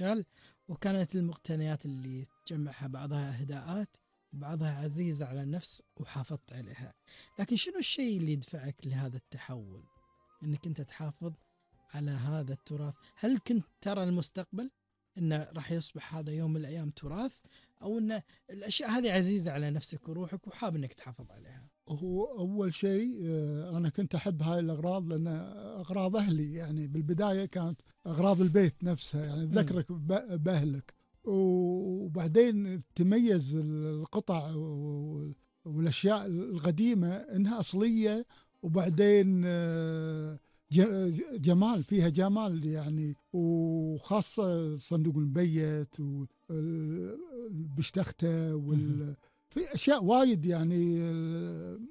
المجال، وكانت المقتنيات اللي تجمعها بعضها إهداءات وبعضها عزيزة على النفس وحافظت عليها. لكن شنو الشيء اللي يدفعك لهذا التحول، انك انت تحافظ على هذا التراث؟ هل كنت ترى المستقبل انه راح يصبح هذا يوم من الايام تراث، او ان الاشياء هذه عزيزة على نفسك وروحك وحاب انك تحافظ عليها؟ هو أول شيء أنا كنت أحب هاي الأغراض، لأن أغراض أهلي يعني بالبداية كانت أغراض البيت نفسها، يعني تذكرك بأهلك. وبعدين تميز القطع والأشياء القديمة إنها أصلية، وبعدين جمال، فيها جمال يعني، وخاصة صندوق المبيت والبشتختة في أشياء وايد يعني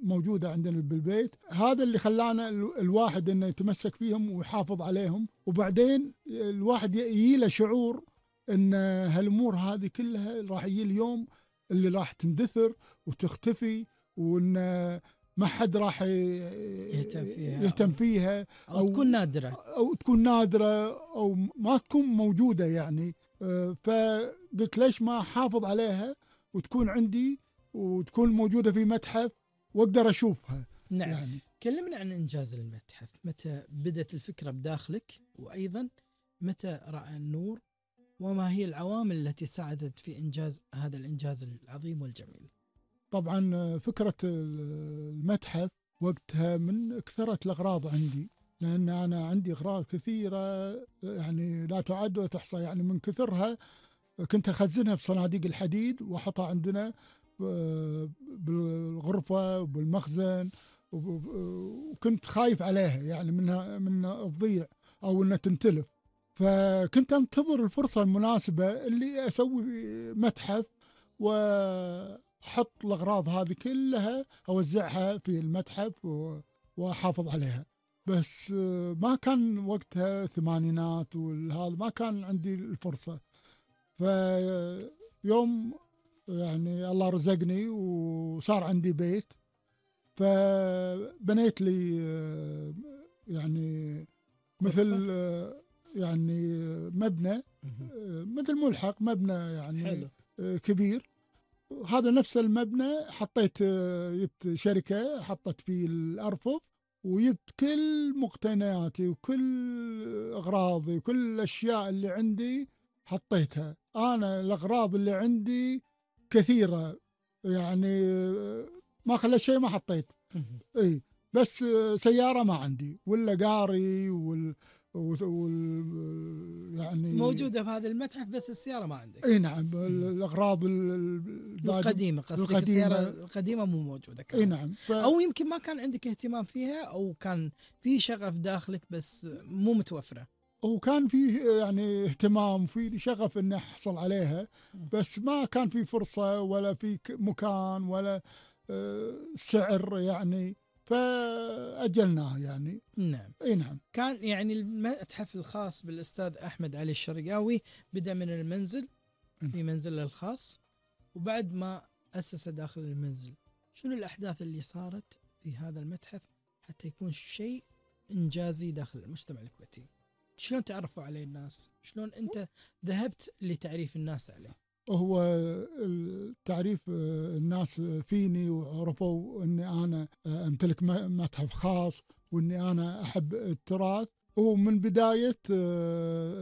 موجودة عندنا بالبيت. هذا اللي خلانا الواحد إنه يتمسك فيهم ويحافظ عليهم. وبعدين الواحد يجيله شعور إن هالأمور هذه كلها راح يجي اليوم اللي راح تندثر وتختفي، وإن ما حد راح يهتم فيها أو تكون نادرة، أو تكون نادرة، أو ما تكون موجودة يعني. فقلت ليش ما أحافظ عليها وتكون عندي وتكون موجودة في متحف وأقدر أشوفها. نعم يعني كلمنا عن إنجاز المتحف، متى بدت الفكرة بداخلك، وأيضا متى رأى النور، وما هي العوامل التي ساعدت في إنجاز هذا الإنجاز العظيم والجميل؟ طبعا فكرة المتحف وقتها من كثرة الأغراض عندي، لأن أنا عندي أغراض كثيرة يعني لا تعد ولا تحصى، يعني من كثرها كنت أخزنها بصناديق الحديد وأحطها عندنا بالغرفة وبالمخزن، وكنت خايف عليها يعني من الضيع أو أنها تنتلف. فكنت أنتظر الفرصة المناسبة اللي أسوي متحف وأحط الأغراض هذه كلها أوزعها في المتحف وأحافظ عليها. بس ما كان وقتها ثمانينات وهذا، ما كان عندي الفرصة. فيوم يعني الله رزقني وصار عندي بيت، فبنيت لي يعني مثل يعني مبنى، مثل ملحق مبنى يعني حلو. كبير. هذا نفس المبنى حطيت جبت شركة حطت فيه الأرفف، وجبت كل مقتنياتي وكل أغراضي وكل الأشياء اللي عندي حطيتها. أنا الأغراض اللي عندي كثيرة يعني ما خلى شيء ما حطيت. اي بس سيارة ما عندي، ولا قاري يعني موجودة في هذا المتحف، بس السيارة ما عندك. اي نعم، الأغراض القديمة قصدك، السيارة القديمة مو موجودة كمان. اي نعم. أو يمكن ما كان عندك اهتمام فيها، أو كان في شغف داخلك بس مو متوفرة. وكان فيه يعني اهتمام وفي شغف اني احصل عليها، بس ما كان في فرصة ولا في مكان ولا سعر يعني، فأجلناه يعني. نعم. اي نعم. كان يعني المتحف الخاص بالأستاذ أحمد علي الشرقاوي بدأ من المنزل، في منزله الخاص، وبعد ما أسس داخل المنزل شنو الأحداث اللي صارت في هذا المتحف حتى يكون شيء إنجازي داخل المجتمع الكويتي؟ شلون تعرفوا عليه الناس؟ شلون أنت ذهبت لتعريف الناس عليه؟ هو التعريف الناس فيني وعرفوا أني أنا أمتلك متحف خاص وأني أنا أحب التراث. ومن بداية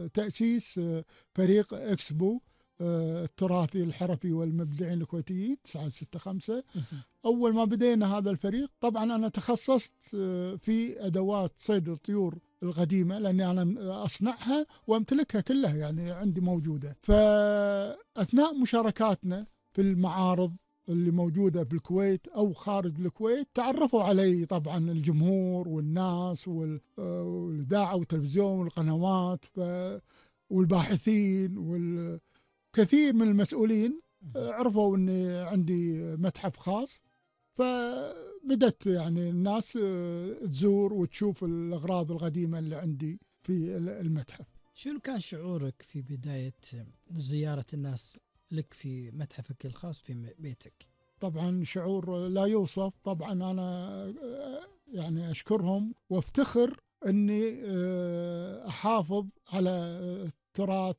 تأسيس فريق إكسبو التراثي الحرفي والمبدعين الكويتيين 965. أول ما بدينا هذا الفريق طبعا أنا تخصصت في أدوات صيد الطيور القديمة، لأني أنا أصنعها وأمتلكها كلها يعني عندي موجودة. فأثناء مشاركاتنا في المعارض اللي موجودة في الكويت أو خارج الكويت تعرفوا علي طبعا الجمهور والناس والإذاعة والتلفزيون والقنوات والباحثين والكثير من المسؤولين عرفوا أني عندي متحف خاص. فبدت يعني الناس تزور وتشوف الأغراض القديمة اللي عندي في المتحف. شنو كان شعورك في بداية زيارة الناس لك في متحفك الخاص في بيتك؟ طبعا شعور لا يوصف. طبعا أنا يعني أشكرهم وافتخر أني أحافظ على التراث